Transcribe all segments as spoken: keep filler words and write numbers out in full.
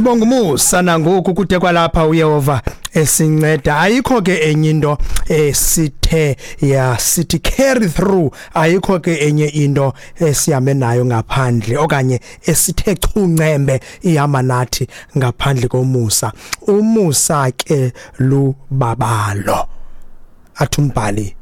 Sibonga umusa nangoku kude kwalapha uYehova esinceda. Ayikho ke enye into esithe ya sithi carry through, ayikho ke enye into esihambe nayo ngaphandle okanye esithe chuncembe ihamba nathi ngaphandle komusa. Umusa ke lubabalo, athi umbhali,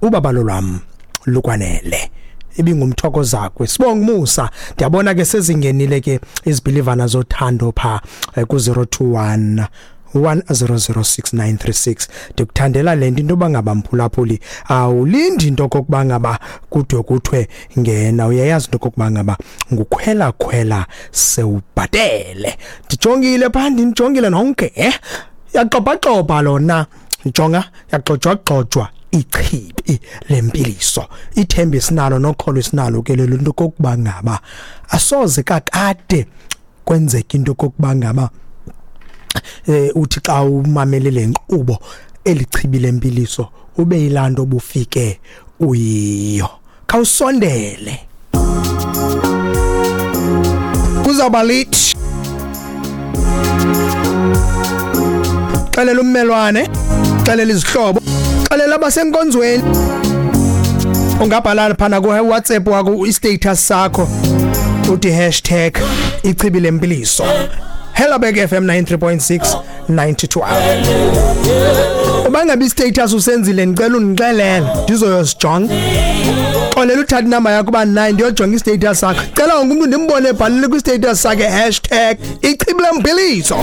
ubabalo lwam lukwanele. Ibingumthoko zakwe. Sibonga umusa. Ndiyabona ke sezingenile ke izibhilivana zothando pha ku zero two one one zero zero six nine three six. Ndikuthandela le nto, into yoba ngaba mphulaphuli awulindi into okokuba ngaba kude kuthiwe ngena, uyayazi into okokuba ngaba ngukhwela khwela sewubhatele. Ndijongile phaa, ndinijongile nonke, eh? Yaxopaxopa lona, jonga, yaxojwaxojwa ichibi lempiliso. Ithemba esinalo nokholo esinalo ke lelo nto kokuba ngaba asoze kakade kwenzeke into kokuba ngaba eh uthi xa umamele le nkqubo elichibi lempiliso ube yilanto obufike uyiyo. Khawusondele, kuzawuba lit. Xelela ummelwane, xelela izihlobo, xelela abasenkonzweni. Ungabhala phana ku WhatsApp wakho i-status sakho uthi hashtag ichibi lempiliso. Helderberg F M ninety-three point six, ninety to hour. Uba ngabe i-status usenzile, ndicela undixelele ndizoyosijonga. Xolela uthatha inamba yakho uba nine ndiyojonga i-status sakho. Cela wonke umntu ndimbone ebhalile kwi-status sakhe hashtag ichibi lempiliso.